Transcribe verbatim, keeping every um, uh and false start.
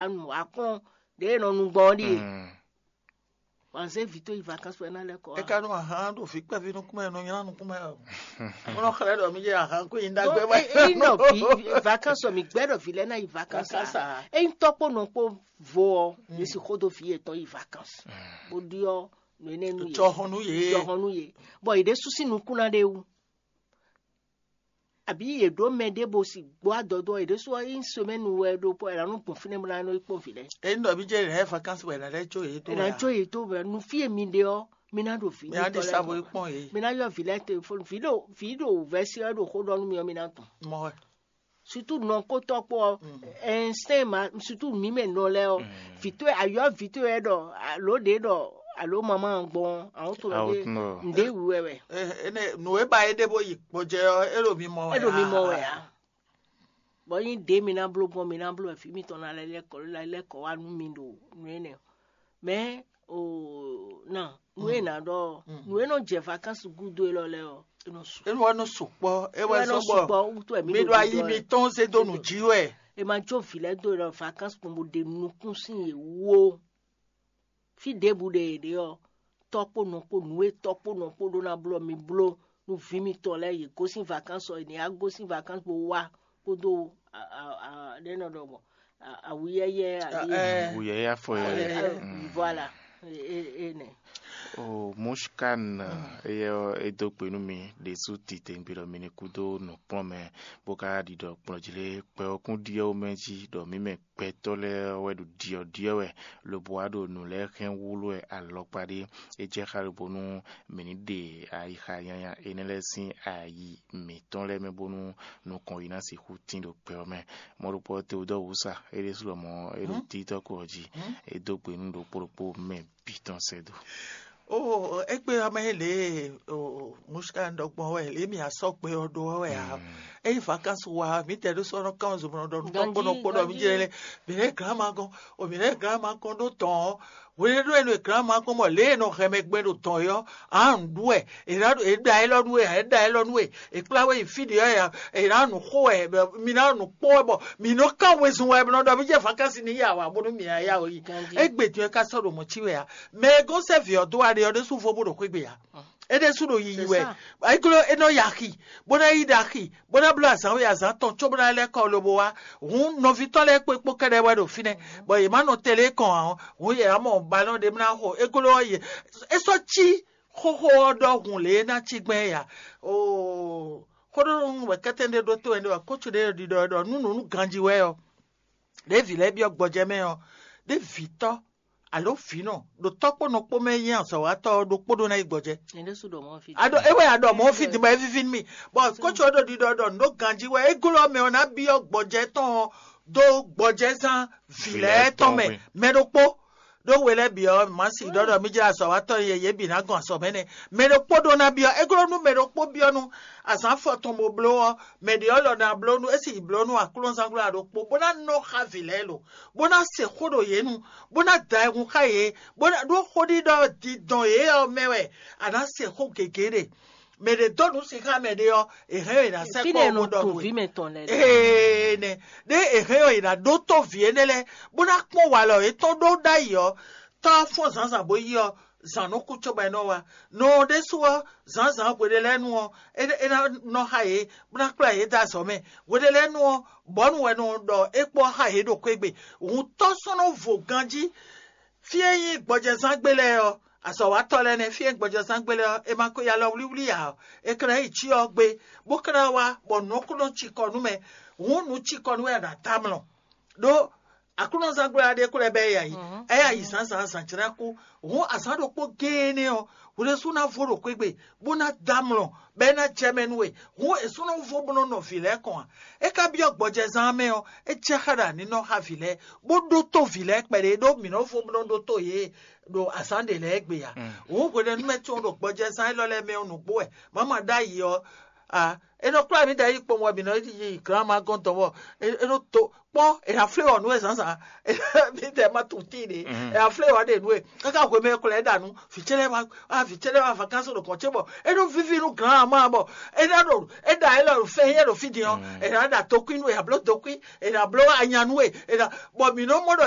nǔ wá kplɔ́n ɖě e nɔ nu gbɔn ɔ́ ɖíe. Wǎn zé vǐ tó yi vakansi wɛ ná lɛ́ kɔ wá. É ka nú ahan ɖo vǐ kpɛví nukún mɛ, nɔ nylá nukún mɛ o. Mɔ nɔ xlɛ́ ɖɔ mí jɛ ahan kó nyi ɖagbe wɛ. Ényí nɔ vǐ vakansi ɔ, mǐ gbɛ́ ɖɔ vǐ lɛ́ɛ ná yi vakansi. Vakansi a? Ényí tɔ́ kpó nɔ kpó vo ɔ́, yě si xó dó vǐ yětɔn yi vakansi. Bó ɖyɔ́ nǔ énɛ́ nú yě. Jɔhɔn nú yě. Jɔhɔn nú yě. Bɔ yě ɖésú sín nukún ná ɖe wú. Abǐ yě ɖó mɛ ɖé bo si gbó adɔdó ɔ́, yě ɖésú ɔ́ nyí semɛ́nu wɛ ɖokpó, è nǎ nɔ gbɔn fínɛ́ bó ná nɔ yi kpɔ́n vǐ lɛ́ɛ. Ényí ɖɔ mí jɛ lɛ̌ vakansi wɛ è nǎ lɛ́ jó yě tó. È nǎ jó yě tó bɛ́ nu fí e mi ɖe ɔ́, mi ná ɖo vǐ. Mi ná ɖi sa bo yi kpɔ́n yě. Mi ná ylɔ́ vǐ lɛ́ɛ telefóni. Vǐ ɖo vǐ ɖo vɛ̌si ɔ́ ɖo xó ɖɔ nú mi ɔ́, mi ná tunwun. Mɔ wɛ. Sutu nɔkótɔ́ kpó ɔ́, ɛnsɛn ma sutu mǐ mɛ nɔ lɛ́ɛ ɔ́, vǐ towe ayɔ́ vǐ towe wɛ ɖɔ alo ɖě ɖɔ alo mamá gbɔn àwọn tó lɔ Awo ɖé tún ɖɔ. Ǹdé wú wɛ wɛ. Ene nǔ e ba é ɖe bó yi gbɔjɛ ɔ́, é ɖo mi mɔ wɛ. É ɖo mi mɔ wɛ a? Bɔ nyí ɖě mi ná bló gbɔn mi ná bló wɛ fí mitɔn ná lɛ́ lɛ́ kɔ lɛ́ lɛ́ kɔ wá nú mi ɖo nǔ énɛ́. Mɛ o na nú e ná ɖɔ nǔ e nɔ jɛ vakansi gúdo élɔ́ lɛ́ɛ ɔ́, é nɔ su. Enu wɛ nɔ sukpɔ, e wɛ Wɛ nɔ sɔgbɔ. Sukpɔ wútu wɛ mi Mi ɖo ɖo ayi gúdo wɛ. Mitɔn zé dó nǔ jí wɛ. E ma jó vǐ lɛ́ɛ dó ɖɔ vakansi kpɔn bó ɖe nukún sín yě wú ó. Fí ɖěbǔ ɖe yě ɖe ɔ́, tɔ́ kpó nɔ kpó nǔ e tɔ́ kpó nɔ kpó ɖó ná bló mi bló nú vǐ mitɔn lɛ́ɛ yě gosín vakansi ɔ́, yě ní wá gosín vakansi bó wá kpódó a- a- a- ɖé nɔ ɖɔ mɔ a- awuyɛyɛ ali Ɛ. Wuyɛyɛ afɔ yɛ. Ɛ, voilà. Enɛ. O Mushkan, eyɛ ɔ, e dó gbe nú mi ɖésú titewungbe ɖɔ mi ní kú dó nǔkplɔ́nmɛ, bó ka ɖiɖɔ kplɔ́njí lé kpɛ ɔ́ kún ɖyɔ́ mɛ jí ɖɔ mǐ mɛ gbɛtɔ́ lɛ́ɛ ɔ́ wɛ ɖo ɖyɔ̌ɖyɔ́ wɛ, lobo wá ɖo nǔ lɛ́ɛ hɛn wlú wɛ alɔkpa ɖé. É jɛ xá lobo nú mǐ ní ɖe ayixa nyanya énɛ́ lɛ́ɛ sín ayi mǐtɔn lɛ́ɛ mɛ bónú nukɔn yi ná sixú tín ɖo gbɛ ɔ́ mɛ. Mɔ̌ ɖokpó ɔ́, Teodɔ́ɔ wǔ sa é ɖésú lɔmɔ̌ é ɖo títɔ́ ko ɔ́ jí. É dó gbe nú ɖokpó ɖokpó mɛ bǐ tɔn sɛ́ dó. O égbé ɔ́ mɛ lě e Muska ɖɔ gbɔn wɛ lě e mǐ asɔ́ gbe ɔ́ ɖó ɔ́ wɛ ǎ. Ényí vakansi wa mǐdɛɛ ɖó sɔ́ nɔ kán zunmɔ ɖɔ nú tɔ́ kpó nɔ kpó ɖɔ mí jɛ lɛ mǐ lɛ́ glǎn ma gɔ́n o mǐ lɛ́ glǎn ma gɔ́n ɖó tɔn ɔ́. Hwenɛ́nu e nɔ è glǎn ma gɔ́n mɔ lě e è nɔ hɛn mɛ gbɛn ɖo tɔn é ɔ́, ǎ nǔ ɖu wɛ è nǎ è ɖa élɔ́ nú we ǎ è ɖa élɔ́ nú we è kplá we yi fí ɖě ɔ́ è nǎ nǔ xo wɛ mi ná nǔ kpɔ́n wɛ bɔ mǐ nɔ kán wezun wɛ bɔ nɔ ɖɔ mí jɛ vakansi ní yi awǎ bónú mǐ ná yá wǔ yi. Égbé din ɔ́ é ka sɔ́ ɖo mɔ̌ cí wɛ ǎ. Mɛ e gɔ́n sɛ́ vǐ ɔ́ dó wa ɖe ɔ́ ɖésú vo bó ɖo xwé gbe ǎ. É ɖésú ɖo yiyi wɛ. Églɔ́ é nɔ yi axi bó ná yi ɖe axi bó ná bló azǎn we azǎn tɔn cóbó ná lɛ́ kɔ lobo wá. Hǔn nɔví tɔn lɛ́ɛ kpó kpó kɛ́ɖɛ́ wɛ ɖo fínɛ́ bɔ yě má nɔ tɛlé kɔn ǎ ɔ́, hǔn yě ná mɔ balɔ́n ɖé ná xo églɔ́ ɔ́ yě é sɔ́ cí xóxó ɔ́ ɖɔhun lě e é ná cí gbɛn é ǎ. Oo, xóɖónú wɛ kɛ́tɛ́n ɖé ɖótó ɛnɛ wɛ kócu ɖé ɖiɖɔ ɖɔ nú nǔ nú ganjí wɛ ɔ́, ɖěvi lɛ́ɛ byɔ́ gbɔjɛ́ mɛ ɔ́, ɖěvǐtɔ́ alo vǐnɔ ɖo tɔ́ kpó nɔ kpó mɛ nyí azɔ̌watɔ́ ɔ́ ɖokpó ɖó ná yi gbɔjɛ́. Aɖɔ é wɛ aɖɔ mɔ̌ fí din bɔ é víví nú mì. Bɔ kócu ɔ́ ɖo ɖiɖɔ ɖɔ nǔ ɖó ganjí wɛ é glɔ́ mɛ ɔ́ ná byɔ́ gbɔjɛ́ tɔn ɔ́ dó gbɔjɛ́zán vǐ lɛ́ɛ tɔn mɛ mɛ ɖokpó. Ɖó we lɛ́ɛ bǐ ɔ́, mǎ si ɖɔ ɖɔ mí jlá azɔ̌watɔ́ e yě bǐ ná gɔn azɔ̌ mɛ nɛ́. Mɛ ɖokpó ɖó ná byɔ́, é glɔ́ nú mɛ ɖokpó byɔ́ nú azǎn afɔ tɔn bó bló ɔ́, mɛ ɖě ɔ́ lɔ ná bló nú é sì bló nú aklúnɔzángbla ɖokpó, bó ná nɔ xá vǐ lɛ́ɛ lo, bó ná se xó ɖo yě nu, bó ná da ayihun xá yě, bó ná ɖó xóɖiɖɔ dindɔn yě ɔ́ mɛ wɛ a nǎ se xó gěgé ɖe. Mɛ ɖě dó nǔ sin xá mɛ ɖé ɔ́, è hɛn ɔ́ è nǎ sɛ́ kpɔ́ ɔ́ bó ɖɔ nú we. Ee nɛ, ɖé è hɛn ɔ́ è nǎ ɖótó vǐ énɛ́ lɛ́ɛ, bó ná kpɔ́n walɔ yětɔn ɖó ɖ'ayǐ ɔ́, tɔ́ ɔ́ fɔ́n zǎnzǎn bó yi ɔ́, zǎn nɔ kú cóbɔ é nɔ wá. Nɔ ɔ́ ɖésú ɔ́, zǎnzǎn hweɖé lɛ́ɛ nu ɔ́, é é ná nɔ xá yě, bó ná kplá yě dó azɔ̌ mɛ. Hweɖé lɛ́ɛ nu ɔ́, bɔ̌nu wɛ nɔ ɖɔ é kpɔ́ xá yě ɖo xwé gbe. Hǔn tɔ́ sɔ́ nɔ vo ganjí. Fí e nyí gbɔjɛzán gbé lɛ́ɛ ɔ́, azɔ̌watɔ́ lɛ́ɛ nɛ́, fí e nyí gbɔjɛzán gbé lɛ́ɛ ɔ́, è ma ko yi alɔ wlíwlí ǎ ɔ́, è ka ná yi cyɔ ɔ́ gbé, bó ka ná wá bɔ nǔ ɔ́ kó nɔ cikɔ nú mɛ. Hǔn nǔ cikɔ nú wɛ è nǎ tamlɔ. Ɖó Aklúnɔzán gbla ɖé kó lɛ́ bɛ́ é yi ayǐ. É yi ayǐ zǎnzǎn zǎn jlá kú. Hǔn azǎn ɖokpó géé énɛ́ ɔ́, hwlɛ́sú ná vo ɖo xwé gbe, bó ná dɔ́ amlɔ, bɔ é ná jɛ mɛ nú we. Hǔn è sú nɔ vo bó nɔ nɔ vǐ lɛ́ɛ kɔn ǎ. É ka byɔ́ gbɔjɛzán mɛ ɔ́, é jɛ xá ɖo aninɔ xá vǐ lɛ́ɛ, bó ɖótó vǐ lɛ́ɛ kpɛɖé ɖó mǐ nɔ vo bó nɔ ɖótó yě ɖo azǎn ɖě lɛ́ɛ gbe ǎ. Hǔn hwenɛ́nu mɛ tɔn ɖo gbɔjɛzán élɔ́ lɛ́ɛ mɛ ɔ́ nǔgbó wɛ, má ma ɖ'ayǐ ɔ́, a é nɔ kplá mǐ ɖɔ é yi kpowun wɛ mǐ nɔ yi glán ma gɔ́n dɔn bɔ é nɔ to kpɔ́ è nǎ flé wɔ nǔ e zǎnzǎn mǐdɛɛ ma tunwun tíin ɖě è nǎ flé wɔ ɖe nǔ e káká hwemɛ e kplɔ́n ɛ ɖa nǔ vǐ ce lɛ́ɛ wá a vǐ ce lɛ́ɛ wá vakansi ɖo kɔn ce bɔ é nɔ víví nú glán ma bɔ é ná ɖo é ɖa é lɔ ɖo fɛn nyɛ ɖo fí din ɔ́ è nǎ ɖa tokwín nú è nǎ bló tokwín è nǎ bló anya nú e è nǎ bɔ mǐ nɔ mɔ ɖɔ